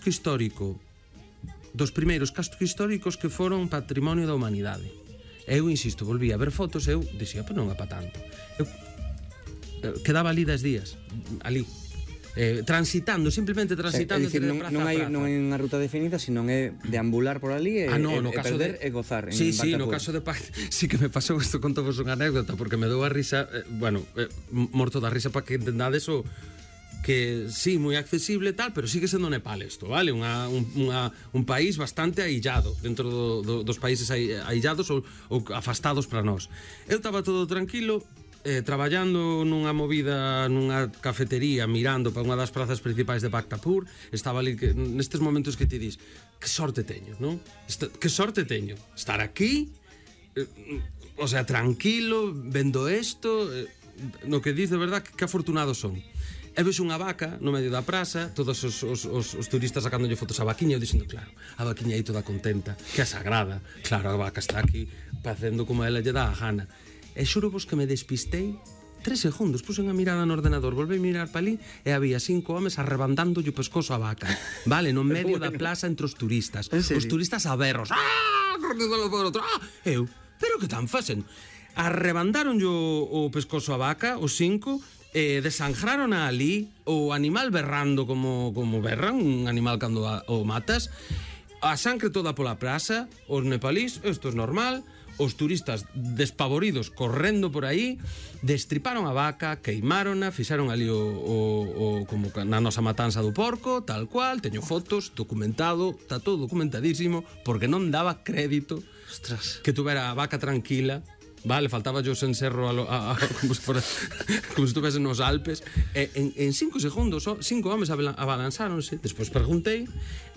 casco histórico, dos primeiros cascos históricos que foron patrimonio da humanidade. Eu, insisto, volví a ver fotos, eu dixía, pero non é pa tanto. Eu quedaba ali 10 días, ali, transitando, simplemente transitando. É dicir, non é unha ruta definida, sino é deambular por ali e perder e gozar en Sí, Barcapur. no caso de sí que me pasou isto, contovos unha anécdota, porque me dou a risa, morto da risa para que entendades o que sí, moi accesible tal, pero sigue sendo Nepal isto, vale? Un país bastante aillado dentro dos países aillados ou afastados para nós. Eu estaba todo tranquilo, traballando nunha movida nunha cafetería, mirando para unha das prazas principais de Bhaktapur. Estaba ali nestes momentos que ti dis, que sorte teño, non? Que sorte teño estar aquí, o sea, tranquilo, vendo isto, no que dis de verdad, que afortunados son. E vexo unha vaca no medio da praza, todos os turistas sacándolle fotos á vaquiña, eu dicindo, claro, a vaquiña aí toda contenta, que é sagrada, claro, a vaca está aquí facendo como ela lle dá a gana. E xuro vos que me despistei 3 segundos, puxen a mirada no ordenador, volvei a mirar para ali e había 5 homes arrebandándolle o pescozo á vaca, vale, no medio da plaza entre os turistas. Os turistas a berros, eu, pero que tan facen? Arrebandaronlle o pescozo á vaca, os 5, desangraron ali, o animal berrando como berran, un animal cando o matas, a sangre toda pola praza, os nepalís, isto é normal. Os turistas despavoridos correndo por aí, destriparon a vaca, queimárona, fixaron ali como na nosa matanza do porco, tal cual, teño fotos, documentado, está todo documentadísimo, porque non daba crédito que tuvera a vaca tranquila, vale, faltaba yo sen serro como se estuvese nos Alpes, en 5 segundos 5 homes abalanzáronse. Despois preguntei,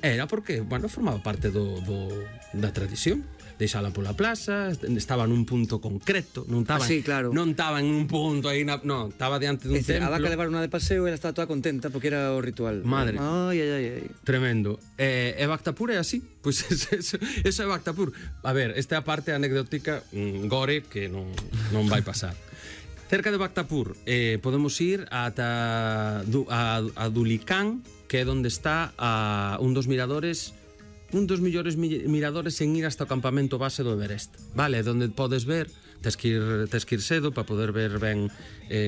era porque, bueno, formaba parte da tradición, deixala pola plaza, estaba nun punto concreto, non estaba en un punto aí, non, estaba diante dun templo. A vaca levar unha de paseo e ela estaba toda contenta porque era o ritual. Madre, ai. Tremendo. E Bhaktapur é así, pois eso é Bhaktapur. A ver, esta é a parte anecdótica gore que non vai pasar. Cerca de Bhaktapur podemos ir ata a Dhulikhel, que é onde está un dos miradores, un dos millores miradores en ir hasta o campamento base do Everest, vale, onde podes ver, tes que ir cedo para poder ver ben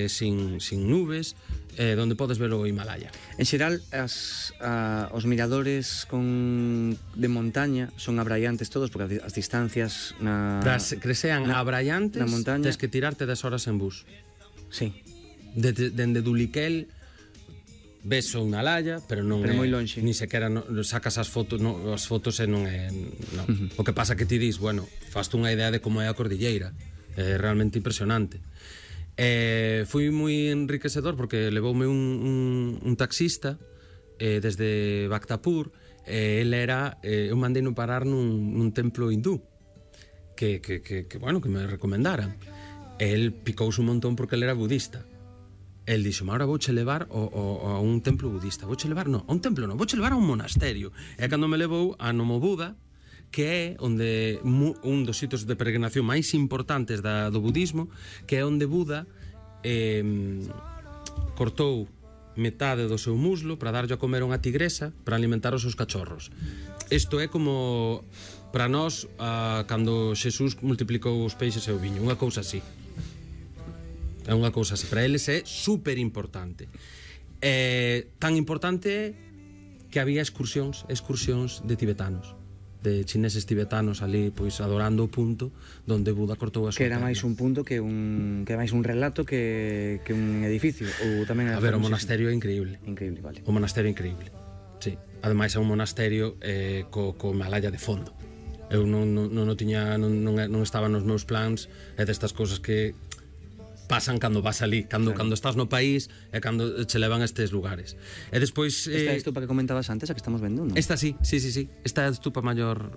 sin nubes, onde podes ver o Himalaya. En xeral, os miradores de montaña son abraiantes todos, porque as distancias que sean abraiantes, tes que tirarte 10 horas en bus. Sí. Dende Dhulikhel ves o Himalaya, pero non é moi lonxe. Ni sequera sacas as fotos e non é. O que pasa que ti dis, bueno, faste unha idea de como é a cordilleira. É realmente impresionante. Foi moi enriquecedor porque levoume un taxista desde Bhaktapur. Eu mandei no parar nun templo hindú que me recomendaran. El picouse un montón porque el era budista. El dixo, ahora vouche levar a un templo budista. Vouche levar, non, a un templo non, vouche levar a un monasterio. E cando me levou a Nomo Buda, que é onde un dos sitios de peregrinación máis importantes do budismo, que é onde Buda cortou metade do seu muslo para darlle a comer unha tigresa para alimentar os seus cachorros. Isto é como para nós cando Xesús multiplicou os peixes e o viño, unha cousa así. É unha cousa así, para eles é super importante. Tan importante que había excursións de tibetanos, de chineses tibetanos ali, pois adorando o punto onde Buda cortou a súa. Que era máis un punto que máis un relato que un edificio, ou tamén a ver, o monasterio é increíble. Increíble, vale. O monasterio é increíble. Sí. Ademais é un monasterio co Himalaya de fondo. Eu non estaba nos meus plans, é destas cousas que pasan cando vas ali, cando estás no país e cando che levan a estes lugares. E despois esta é a estupa que comentabas antes, a que estamos vendo, non? Esta sí. Esta é a estupa maior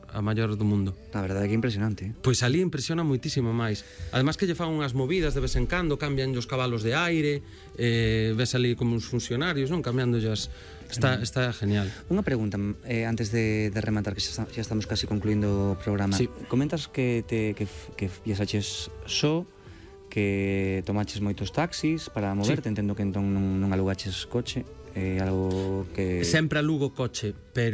do mundo. A verdade é que é impresionante. Pois ali impresiona moitísimo máis. Ademais que lle fan unhas movidas de vez en cando, cambian os cabalos de aire, ves ali como uns funcionarios, non, cambiando as. Está genial. Unha pregunta antes de rematar, que xa estamos casi concluindo o programa. Sí. Comentas que viaxaches só, que tomaches moitos taxis para moverte, entendo que entón non alugaches coche, algo que... Sempre alugo coche, pero